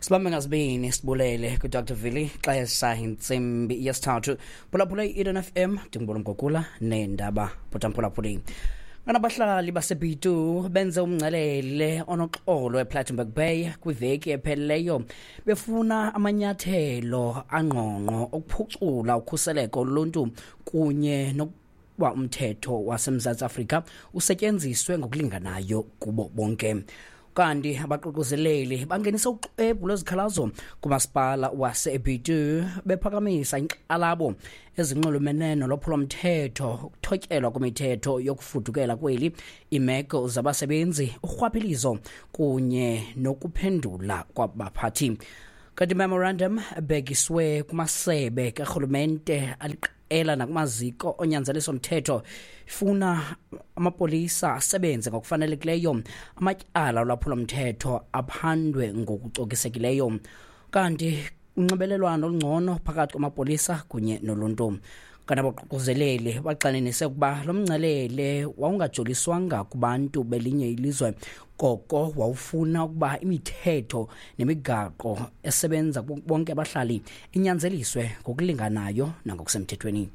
Sibambe ngazibini, sibulele kuDr Vili. Xesha intsimbi yesithathu. Phulaphula i-Eden FM, ndingubona Mgogula neendaba bhutamphulaphuli. Kanabahlali baseBitu benze umngcelele onoxolo ePlattenberg Bay kwiveki ephelileyo befuna amanyathelo angqongqo okuphucula ukhuseleko loluntu kunye nokuba umthetho waseMzantsi Afrika usetyenziswe ngokulinganayo kubo bonke. Kanti abaququzeleli bangenisa uxwebhu lwezikhalazo kumasipala waseBitu bephakamisa inkxalabo ezinxulumene nolwaphulomthetho, ukuthotyelwa kwemithetho yokufudukela kweli, iimeko zabasebenzi, urhwaphilizo kunye nokuphendula kwabaphathi. Kanti memorandum ebhekiswe kumasebe karhulumente aliqela nakumaziko onyanzeliso mthetho ifuna amapolisa asebenze ngokufanelekileyo, amatyala olwaphulomthetho aphandwe ngokucokisekileyo, kanti unxibelelwano olungcono phakathi kwamapolisa kunye noluntu. Kanti abaququzeleli baxaninise ukuba lo mngcelele wawungajoliswanga kubantu belinye ilizwe, koko wawufuna ukuba imithetho nemigaqo esebenza bonke abahlali inyanzeliswe ngokulinganayo nangokusemthethweni.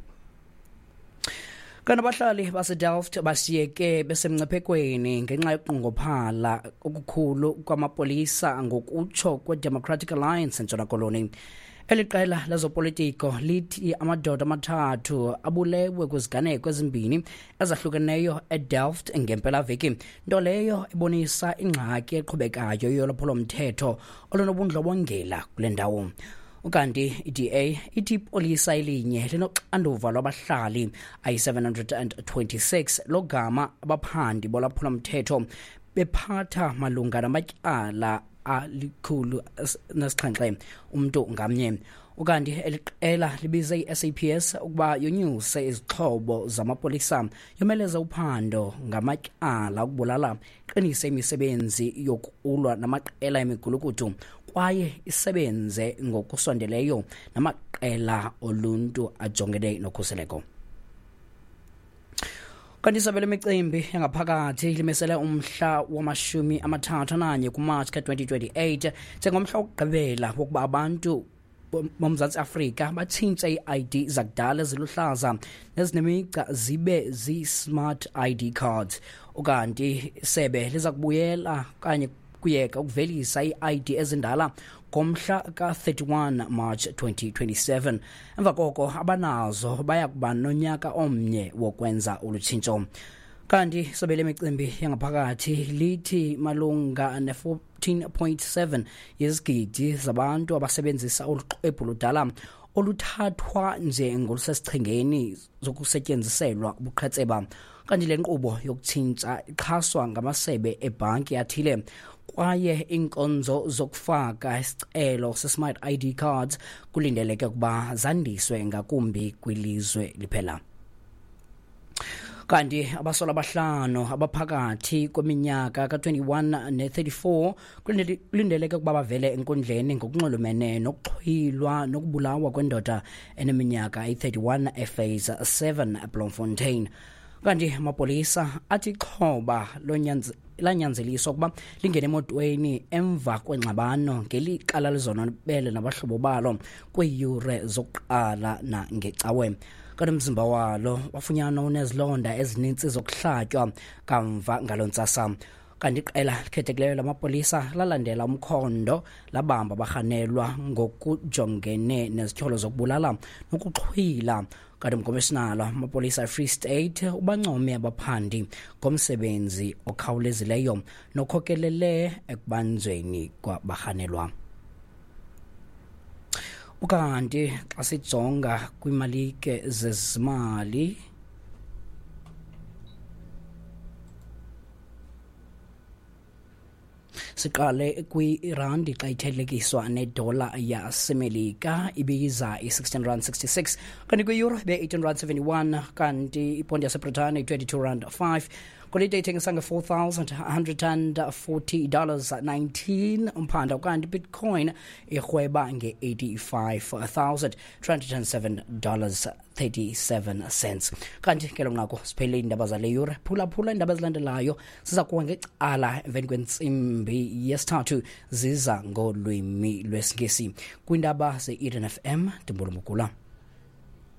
Kanti abahlali baseDelft bashiyeke besemngciphekweni ngenxa yokunqongophala okukhulu kwamapolisa, ngokutsho kweDemocratic Alliance eNtshona Koloni. Eli qela lezopolitiko lithi amadoda amathathu abulewe kwiziganeko ezimbini ezahlukeneyo eDelft ngempelaveki, nto leyo ebonisa ingxaki eqhubekayo yolwaphulomthetho olunobundlobongela kule ndawo. Ukanti i-DA ithi ipolisa elinye linoxanduva lwabahlali ayi-726 logama abaphandi bolwaphulomthetho bephatha malunga namatyala 107 umntu ngamnye. Ukanti eliqela libize i-SAPS ukuba yonyuse izixhobo zamapolisa, yomeleze uphando ngamatyala okubulala, iqinise imisebenzi yokulwa namaqela emigulukudu kwaye isebenze ngokusondeleyo namaqela oluntu ajongene nokhuseleko. Kanti isebe lemicimbi yangaphakathi limisele umhla wama-31 kuMatshi ka-2028 njengomhla wokugqibela wokuba abantu boMzantsi Afrika batshintshe ii-ID zakudala eziluhlaza nezinemigca zibe zii-smart ID cards. Ukanti isebe liza kubuyela okanye kuyeka ukuvelisa ii-ID ezindala ngomhla ka-31 March 2027. Emva koko abanazo baya kuba nonyaka omnye wokwenza olu tshintsho. Kanti isebe lemicimbi yangaphakathi lithi malunga ne-14.7 yezigidi zabantu abasebenzisa olu xwebhu ludala oluthathwa njengolusesichengeni zokusetyenziselwa ubuqhetseba. Kanti le nkqubo yokutshintsha ixhaswa ngamasebe ebhanki athile kwaye iinkonzo zokufaka isicelo se-smart ID cards kulindeleke ukuba zandiswe ngakumbi kwilizwe liphela. Kanti abasolwa abahlanu abaphakathi kweminyaka ka-21 ne-34 kulindeleke ukuba bavele enkundleni ngokunxulumene nokuxhwilwa nokubulawa kwendoda eneminyaka eyi-31 ePhase 7 eBloemfontein. Kanti amapolisa athi ixhoba lanyanzeliswa ukuba lingene emotweni emva kwengxabano ngelixa lalizonwabele nabahlobo balo kwiiyure zokuqala nangecawe. Kanti umzimba walo wafunyanwa unezilonda ezininzi zokuhlatywa kamva ngaloo ntsasa. Kanti iqela likhethekileyo lamapolisa lalandela umkhondo labamba abarhanelwa ngokujongene nezityholo zokubulala nokuxhwila. Kanti umkomishinala wamapolisa eFree State ubancome abaphandi ngomsebenzi okhawulezileyo nokhokelele ekubanjweni kwabarhanelwa. Ukanti xa sijonga kwimalike zezimali, siqale kwirandi xa ithelekiswa nedola yaseMelika ibiza i-16 rand 66, kanti kwi-euro ibe-18 rand 71, kanti iponti yaseBritane i-22 rand 5. Golide ithengisa nge-$4,140 19 umphanda, ukanti Bitcoin irhweba nge-$85,307 37 cents. Kanti ke lo nqaku siphele iindaba zale yure. Phulaphula iindaba ezilandelayo, siza kuwa ngecala emveni kwentsimbi yesithathu, ziza ngolwimi lwesiNgesi. Kwiindaba ze-Eden FM, Ndimbulumugula.